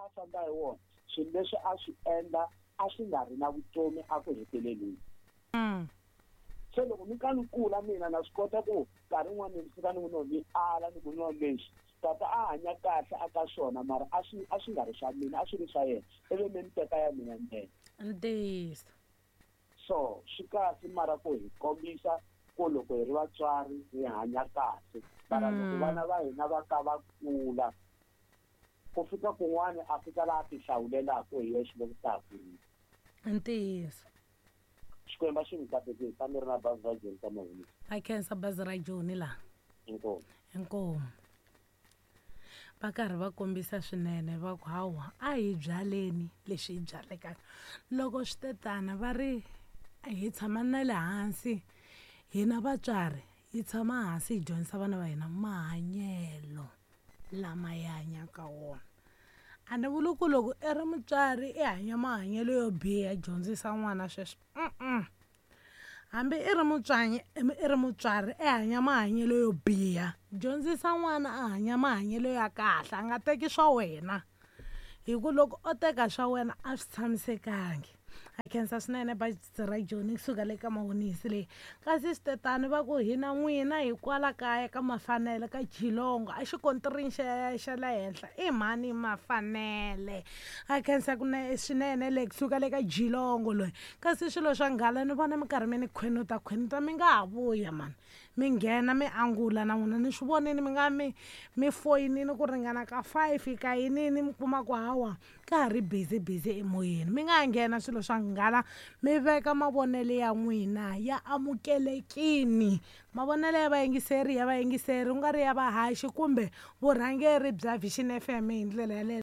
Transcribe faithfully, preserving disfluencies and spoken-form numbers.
a famba hi wona swilo leswi a swi endla a swi nga ri na vutomi a ku heteleleni. Mm. Se loko ni ka ni kula mina na swi kota ku nkarhi wun'wani ni fika ni ku no ni ala ni ku no lexi tata a hanya kahle a ka swona mara a swi a swi nga ri swa mina, a swi ri swa yena, ivi mi ni teka ya mina ntsena. Ntiyiso. So swi kahle mara ku hi kombisa ku loko hi ri vatswari hi hanya kahle, mara loko Mm. vana va hina va ka va kula ku fika kun'wani a fika laha ti hlawulelaka hi yexe loko ta ha kurile. Ntiyiso. Xikwembu a xi mi katekisi, a mi ri na bazi ra Joni ka Mahungu. A khensa bazi ra Joni laha. Inkomu. Inkomu. Va karhi va kombisa swinene va ku hawa a hi byaleni leswi hi byalekaka. Loko swi te tana va ri hi tshama na le hansi hina vatswari hi tshama hansi hi dyondzisa vana va hina mahanyelo lama hi hanyaka wona. A ni vuli ku loko i ri mutswari i hanya mahanyelo yo biha dyondzisa n'wana sweswo, mm-mm. Hambi i ri mutswanyi i ri mutswari i hanya mahanyelo yo biha dyondzisa n'wana a hanya mahanyelo ya kahle, a nga teki swa wena hi ku loko o teka swa wena a swi tshamisekangi. A khensa swinene bazi ra Joni kusuka le ka Mawonisi leyi. Kasi swi va ku hina n'wina hi kwala kaya ka Mafanele ka Geelong a xikontirini xa xa le henhla i mhani Mafanele. A khensa ku swinene le kusuka le ka Geelong loyi. Kasi swilo swa nghala ni vona mi karhi mi ni khwenuta khwenuta mi nga ha vuya mani mi nghena mi angula na n'wina ni swi vonini mi nga mi mi foyinini ku ringana ka five ka yinini mi kuma ku hawa ka ha ri busy busy emoyeni, mi nga ha nghena swilo swa nghala mi veka mavonelo ya n'wina ya amukelekini. Mavonelo ya vayingiseri ya vayingiseri ku nga ri ya vahaxi kumbe vurhangeri bya Vision F M hi ndlela yaleyo.